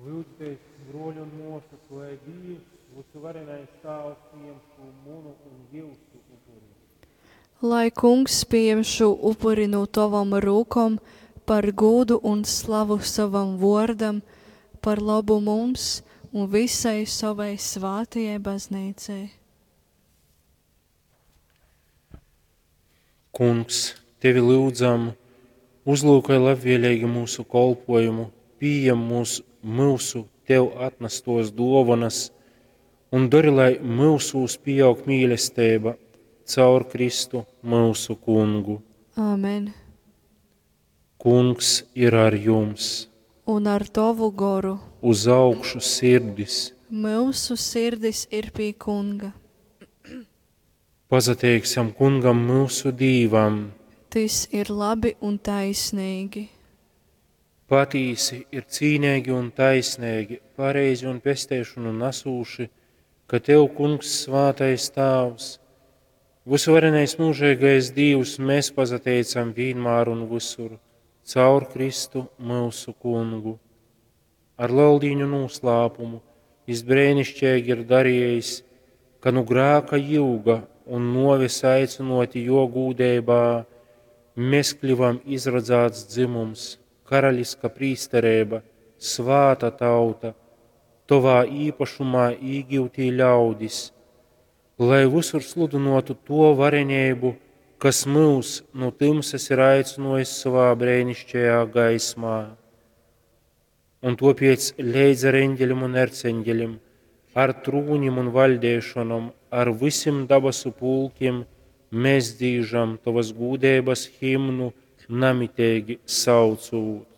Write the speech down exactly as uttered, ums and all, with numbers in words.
Lyudzitēs, bruoļi un muosys, lai Dīvs, Vysuvarenais Tāvs, pījem šū munu un jiusu upuri. Lai Kungs pījem šū upuri nu tovom rūkom par gūdu un slavu sovam vuordam, par lobu mums un visai sovai svātajai Bazneicai. Kungs, tevi lyudzam, uzlūkoj labvieleigi myusu kolpuojumu, pījem mūs, myusu tev atnastuos duovonys un dori, lai myusūs pīaug mīlesteiba caur Kristu myusu Kungu. Āmen. Kungs ir ar jums! Un ar tovu goru. Uz augšu sirdis! Myusu sirdis ir pie Kunga. Pasateiksim Kungam myusu Dīvam! Tys ir labi un taisnīgi. Patīsi ir cīneigi un taisneigi, pareizi un pesteišonu nasūši, ka Tev, Kungs, svātais Tāvs, vysuvarenais myužeigais Dīvs, mēs pasateicam vīnmār un vysur, caur Kristu myusu Kungu. Ar Leldīņu noslēpumu jis breinišķeigi ir darījis, ka nu grāka jiuga un nuoves aicynoti jo gūdeibā, mēs kļuvam izradzāts dzimums, karaliska prīstereiba, svāta tauta, tovā īpašumā īgiutī ļaudis, lai visur sludynotu to varenību, kas mūs no tumsas ir aicinājis savā brēnišķajā gaismā. Un topiec leidz ar eņģelim un erceņģelim, ar trūņim un vaļdēšanom, ar visim dabasu pulkim, mēs dzīžam tovas gūdeibas himnu namiteigi saucūt.